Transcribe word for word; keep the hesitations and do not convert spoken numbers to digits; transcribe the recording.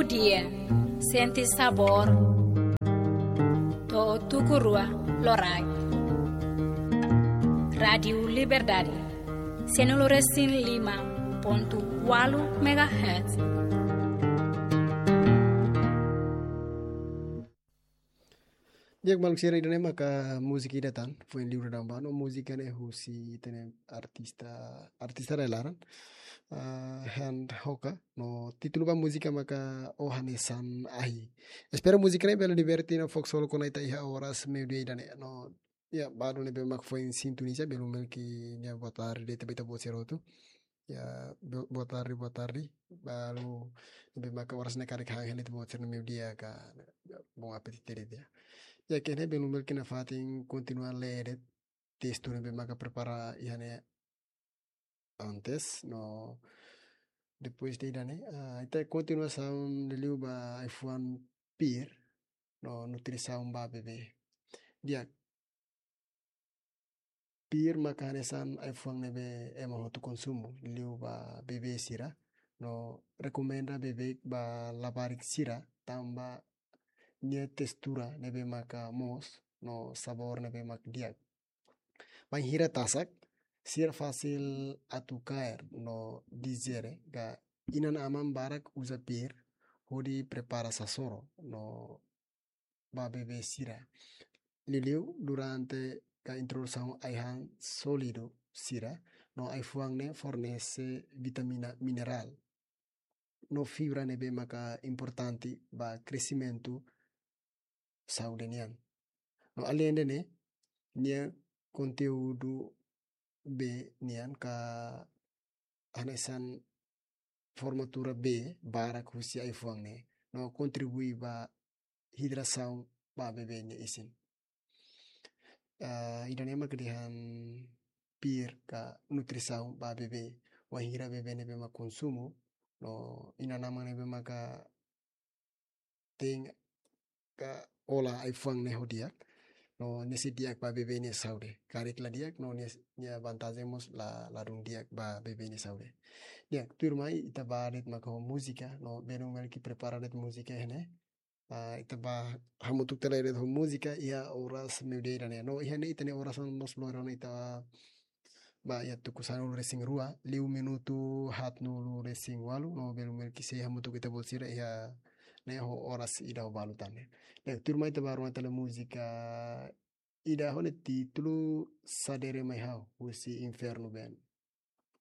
Dia, sente sabór. To'o tuku rua loraik. Rádiu Liberdade, cento e cinco e cinco ponto oito megahertz. Di'ak, maluk sira, ida-ne'e maka múzika ida tan, foin liur daudaun ba, no múzika ne'e husi ita-nia artista, artista rai-laran, ah, Hand Hoka, no títulu ba múzika maka O Hanesan Ahi. Espera múzika ne'e bele diverte no fó ksolok ona ita iha oras meiudia ida-ne'e, no, ya, balu ne'ebé mak foin sintoniza, belun belun nia boa tarde de'it ba ita-boot sira hotu. Ya, bo-, boa tarde, boa tarde. Balu ne'ebé maka oras ne'e karik han hela ita-boot sira-nia meiudia ka, bom apetite de'it. Ya, ida-ne'e belun belun nafatin kontinua lee de'it testu ne'ebé maka prepara iha ne'e antes, no depois de ida-ne'e, ah, ita kontinuasaun liuliu ba ai-fuan pir, no nutrisaun ba bebé. Di'ak, pir maka hanesan ai-fuan ne'ebé ema hotu konsumu, liuliu ba bebé sira, no rekomenda beibeik ba labarik sira, tanba nia testura ne'ebé maka moos, no sabór ne'ebé mak di'ak. Bainhira tasak, sira fasil atu kaer no dijere, ka inan-aman barak uza pir hodi prepara sasoro no ba bebé sira. Liuliu durante ka introdusaun ai-han sólidu sira, no ai-fuan ne'e fornese vitamina, minerál no fibra ne'ebé maka importante ba kresimentu saúde nian. No alende ne'e, nia konteúdu B nian ka hanesan formatura B barak husi ai-fuan ne'e, no kontribui ba hidrasaun ba bebé nia isin. Ah, ida-ne'e mak dehan pir ka nutrisaun ba bebé. Wainhira bebé ne'ebé mak konsumu, no inan-aman ne'ebé maka tein ka hola ai-fuan ne'e ho di'ak, no nia sei di'ak ba bebé nia saúde. Karik la di'ak, no nia, nia vantajen mós la, ladún di'ak ba bebé nia saúde. Di'ak, tuirmai ita ba de'it maka ho múzika, no belun belun prepara de'it múzika iha ne'e. Ah, ita ba hamutuk tiha lai de'it ho múzika iha oras meiudia ida-ne'e. No iha ne'e ita-nia orasaun mós lori ona ita ba iha tuku sanulu-resin-rua, liu minutu haatnulu-resin-ualu, no belun belun sei hamutuk ita-boot sira iha ne'e ho oras ida ho balu tan ne'e. Di'ak, tuirmai ita ba rona tiha lai múzika ida ho nia títulu Sadere Mai Ha'u, husi Inferno Band.